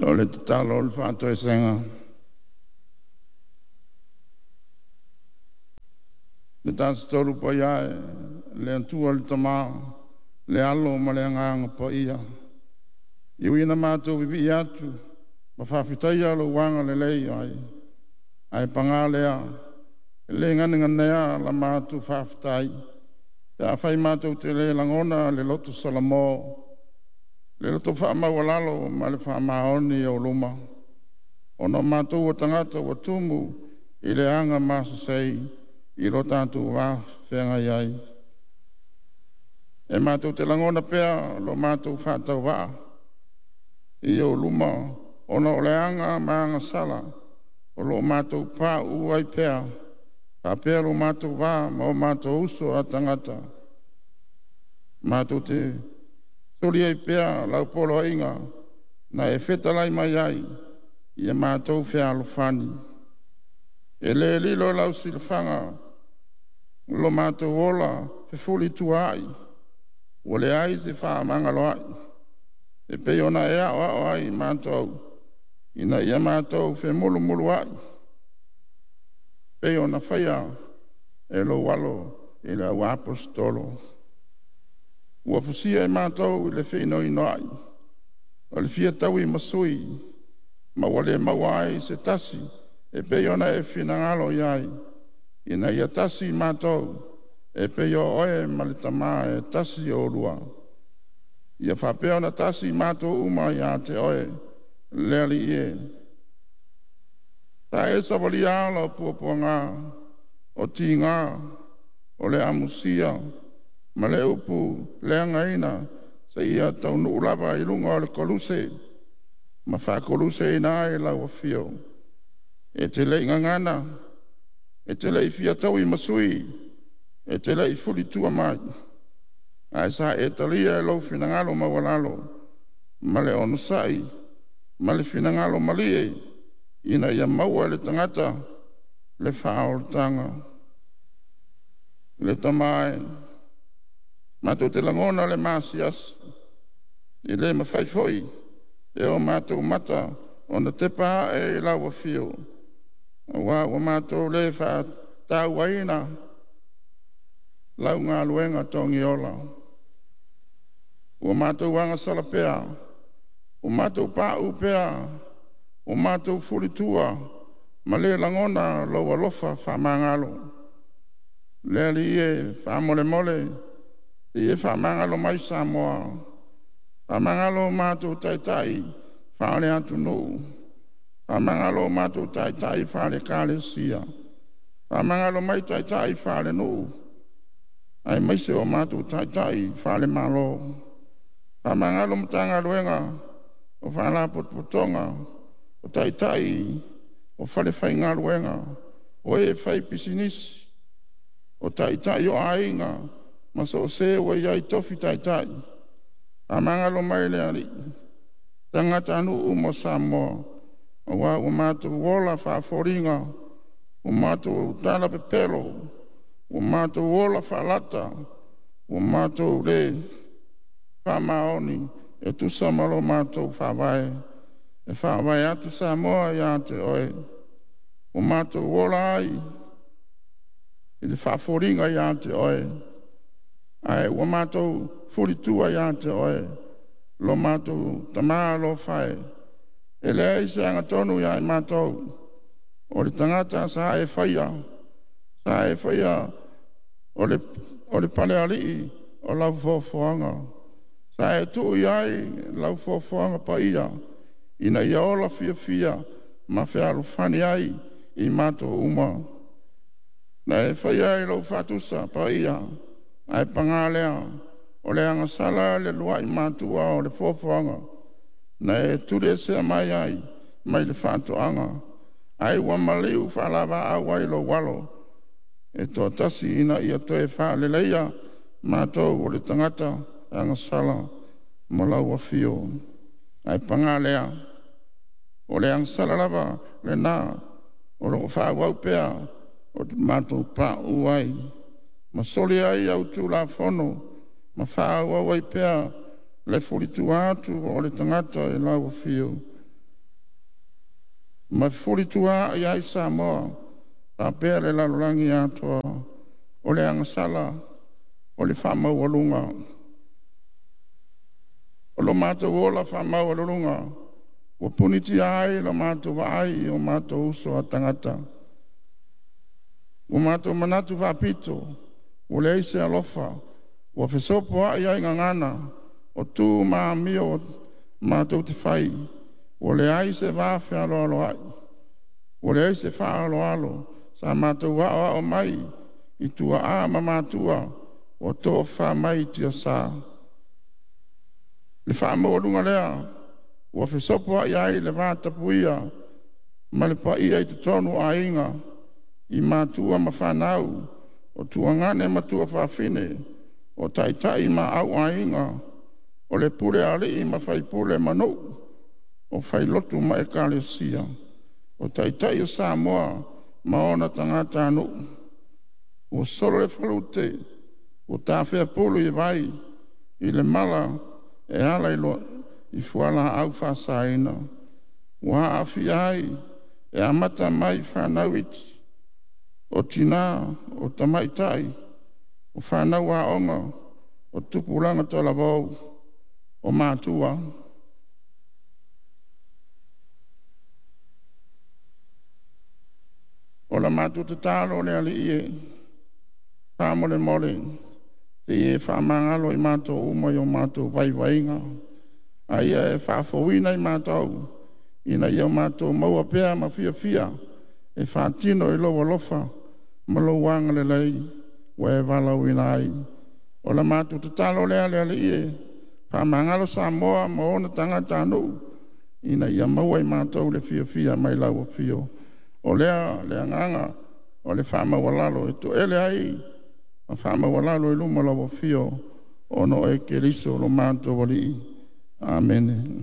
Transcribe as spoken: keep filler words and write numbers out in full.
O le tatalo o le faatoesega. Le Tafatolu Paia e, le Atua le Tama, le Alo ma le Agaga Paia, e ui ina matou vivii atu ma faafetaia lou agalelei ai, ae paga lea, e le ganeganea la matou faafetai pe afai matou te le lagona le loto salamo, le loto faamaualalo ma le faamaoni i ou luma, ona o matou o tagata ua tumu i le aga masasei i lo tatou va feagai ai. E matou te lagona pea lo matou faatauvaa i ou luma ona o le aga ma agasala o lo o matou pauu ai pea faapea lo matou va ma o matou uso a tagata. Matou te soli ai pea lau poloaiga na e fetalai mai ai ia matou fealofani. E le lilo i lau silafaga lo matou ola fefulituaai ua leai se fefaamagaloai e pei ona e aoao ai i matou ina ia matou femulumuluai pei ona faia e lou Alo i le auaposeitolo. Ua fusia i matou i le feinoinoai o le fia taui ma sui ma ua le maua ai se tasi e pei ona e finagalo i ai, ina ia tasi i matou e pei o Oe ma le Tama e tasi Oulua. Ia faapea ona tasi i matou uma ia te Oe, le Alii e. Sa e savalia ala o puapuaga, o tiga, o le amusia ma le upu leagaina seia taunuu lava i luga o le Koluse ma faakoluseina ai lau afio. E te le i gagana, e te le i fia taui ma sui, e te le i fulitua mai, ae sa e talia i lou finagalo maualalo ma le onosai ma le finagalo malie ina ia maua e le tagata le faaolataga. Le Tama e, matou te lagona le maasiasi, e le mafai foi e o matou mata ona tepa ae i lau afio, aua ua matou le faatauaina lau galuega togiola. Ua matou agasala pea, ua matou pauu pea, ua matou fulitua ma le lagona lou alofa faamagalo. Le Alii e, faamolemole sei e faamagalo mai Samoa, faamagalo o matou Taitai faale-atunuu, faamagalo o matou Taitai faale-Ekalesia, faamagalo mai Taitai faale-nuu, aemaise o matou Taitai faale-Malo. Faamagalo Matagaluega o Faalapotopotoga, o Taitai o falefaigaluega, o e faipisinisi, o Taitai o aiga ma so o se ua i ai i tofi taitai. Faamagalo mai le Alii tagatanuu uma o Samoa aua ua matou ola faafoliga, ua matou tautala pepelo, ua matou ola faalata, ua matou le faamaoni e tusa ma lo matou Faavae e faavae atu Samoa ia te Oe. Ua matou ola ai i le faafoliga ia te Oe, ae ua matou fulitua ia te Oe lo matou Tama alofa e. E leai se agatonu ia i matou, o le tagata sa e faia, sa e faia o le o le palealii o lau foafoaga. Sa e tuu i ai lau foafoaga paia ina ia ola fiafia ma fealofani ai i matou uma. Na e faia i lou faatusa paia, ae paga lea, o le agasala i le uluai matua o le foafoaga na e tuliesea mai ai mai le faatoaga, ai ua maliu faalaau ai lou Alo e toatasi ina ia toe faaleleia matou o le tagata agasala mo lau afio. Ae paga lea, o le agasala lava lena o lo o faaauau pea ona matou pauu ai ma soli ai au Tulafono ma faaauau ai pea le fulitua atu o le tagata i lau afio. Ma fefulisua'i ai Samoa faapea le lalolagi atoa. O le agasala o le faamaualuga o lo matou ola faamaualuluga ua punitia ai la matou vaai i o matou uso a tagata. Ua matou manatu faapito, ua leai se alofa, ua fesopoai ai gagana. O tu ma amio matou te fai, ua leai se vafealoaloai, ua leai se faaaloalo. Sa matou aoao mai i tuaa ma matua ua tofafa mai i tiasa. Le faamaualuga lea ua fesopoai ai le vatapuia ma le paia i totonu o aiga, i matua ma fanau, o tuagane ma tuafafine, o taitai ma auaiga, o le pule a alii ma faipule ma nuu, o failotu ma ekalesia, o Taitai o Samoa ma ona tagatanuu. Ua solo le falute ua tafea pulu i vai i le mala e ala i fualaau faasaina, ua aafia ai e amata mai i fanau iti, o tinã, o tamaitai, o fanau aoga, o tupulaga talavou, o matua. O la matou tatalo le Alii e, faamolemole se i e faamagalo i matou uma i o matou vaivaiga, a ia e faafouina i matou ina ia matou maua pea ma fiafia e faatino i lou alofa ma lou agalelei ua e valaauina ai. O la matou tatalo lea le Alii e, faamagalo Samoa ma ona tagatanuu ina ia maua e matou le fiafia mai lau afio. O lea le agaga o le faamaualalo e toele ai ma faamaualalo i luma o lau afio ona o oe Keriso lo matou Alii. Amene.